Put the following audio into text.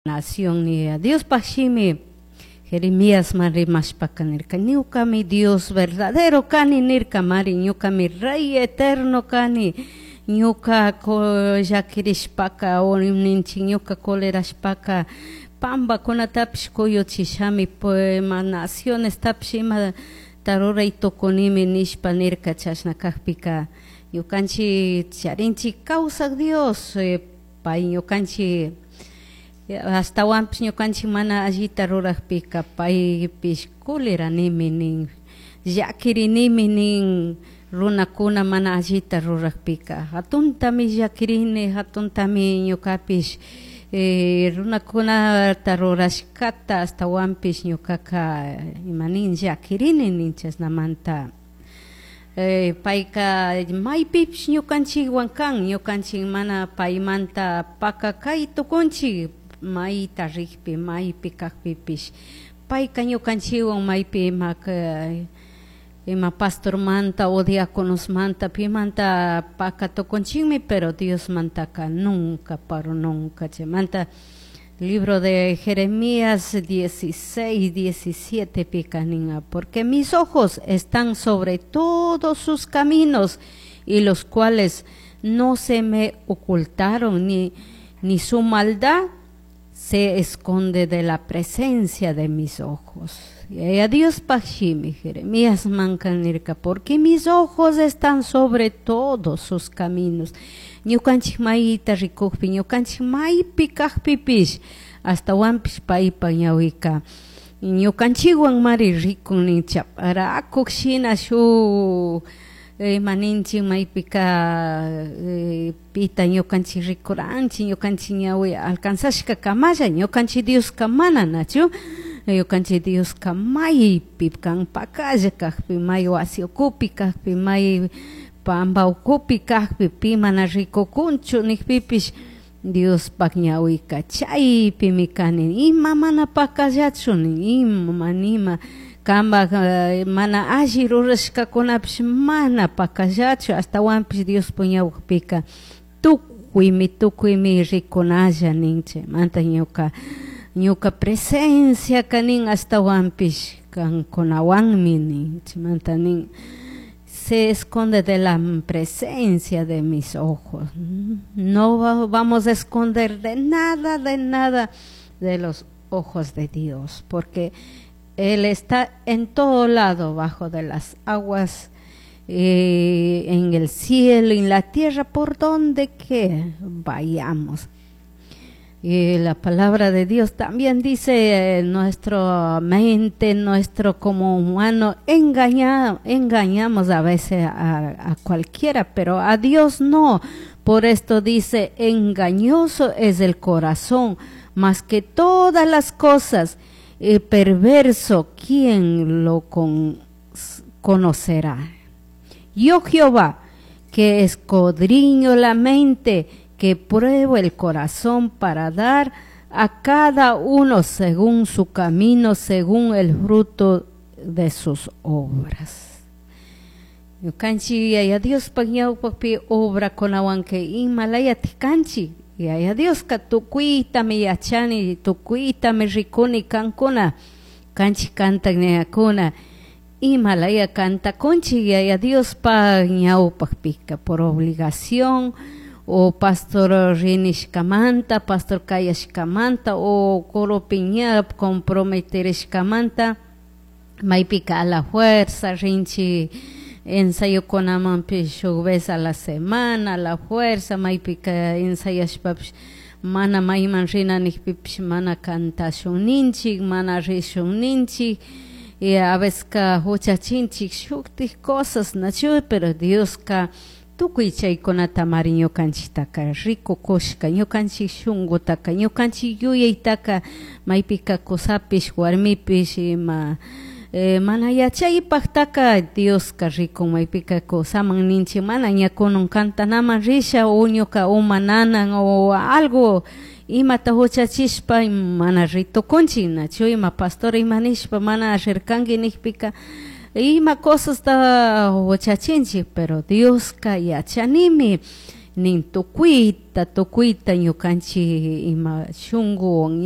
Nación Diospaj shimi Jeremíasman rimashpaka nirka ñukami Dios verdadero kani nirka mari ñukami rey eterno kani ñuka llakirishpaka o ninchik ñuka colerashpaka pambakunatapish kuyuchishami ima nacionestapish imata ruray tukunimi nishpa nirka chashna kakpika ñukanchik charinchik kawsak Dios pay ñukanchik ashtawanpish ñukanchik mana allita rurakpika paypish culeranimi nin llakirinimi nin runakuna mana allita rurakpika hatuntami llakirini hatuntami ñukapish runakunata rurashkata ashtawanpish ñukaka imanin llakirini nin chashnamanta payka maypipish ñukanchikwan kan ñukanchik mana paymanta pakakay tukunchik mayta rikpi maypi kakpipish payka ñukanchikwan maypi ima pastormanta o diáconosmanta pimanta paka tukunchikmi pero Diosmantaka nunca pero nunca chaymanta libro de Jeremías 16, 17 pika nin porque mis ojos están sobre todos sus caminos y los cuales no se me ocultaron ni su maldad se esconde de la presencia de mis ojos. Y a Dios shimi Jeremías manka nirka porque mis ojos están sobre todos sus caminos. Ñukanchik mayta rikukpi ñukanchik maypi kakpipish ashtawanpish paypa ñawika ñukanchikwan mari rikun nin chaparakuk shina shuk ima ninchik maypika pita ñukanchik rikuranchik ñukanchik ñawi alcanzashka kamalla ñukanchik Dioska mana nachu ñukanchik Dioska maypi kan pakalla kakpi may wasi ukupi kakpi may pamba ukupi kakpi pi mana rikukunchu nikpipish Diospaj ñawika chaypimi kani ima mana pakallachu nin ima mana ima kanpak mana alli rurashkakunapish mana pakallachu ashtawanpish Diospaj ñawpika tukuymi tukuymi rikunalla nin chaymanta ñuka presencia nin ashtawanpish kankunawanmi nin chaymanta nin se esconde de la presencia de mis ojos. No vamos a esconder de nada, de nada de los ojos de Dios, porque Él está en todo lado, bajo de las aguas, en el cielo, en la tierra, por donde que vayamos. Y la palabra de Dios también dice, nuestra mente, nuestro como humano, engañamos a veces a cualquiera, pero a Dios no. Por esto dice, engañoso es el corazón, más que todas las cosas, y perverso, ¿quién lo conocerá? Yo Jehová, que escudriño la mente, que pruebo el corazón para dar a cada uno según su camino, según el fruto de sus obras. Ñukanchik Yaya Diospaj ñawpakpi obrakunawan imalayati kanchik Yaya Dioska tukuytami yachani tukuytami rikuni kankuna kanchik kantak ñayakuna imalaya kantakunchik Yaya Diospaj ñawpakpika por obligación o pastor rinishkamanta, pastor kayashkamanta o coropi ña comprometerishkamanta maypika a la fuerza rinchik ensayokunamanpish shuk vez a la semana a la fuerza maypika ensayashpapish mana mayman rina nikpipish mana kantashun ninchik mana rishun ninchik y a veces ka huchachinchik shuktik cosas nachu pero Dioska tukuy chaykunata mari ñukanchiktaka rikukushka ñukanchik shunkutaka ñukanchik yuyaytaka maypika kusapish warmipish ima mana yachaypaktaka Dioska rikun maypika kusaman ninchik mana ña kunan kantanaman risha o ñuka uma nanan o algo imata huchachishpa mana ritukunchik nachu ima pastor ima nishpa mana rirkanki nikpika ima cosasta huchachinchik pero Dioska yachanimi nin tukuyta tukuyta ñukanchik ima shunkuwan.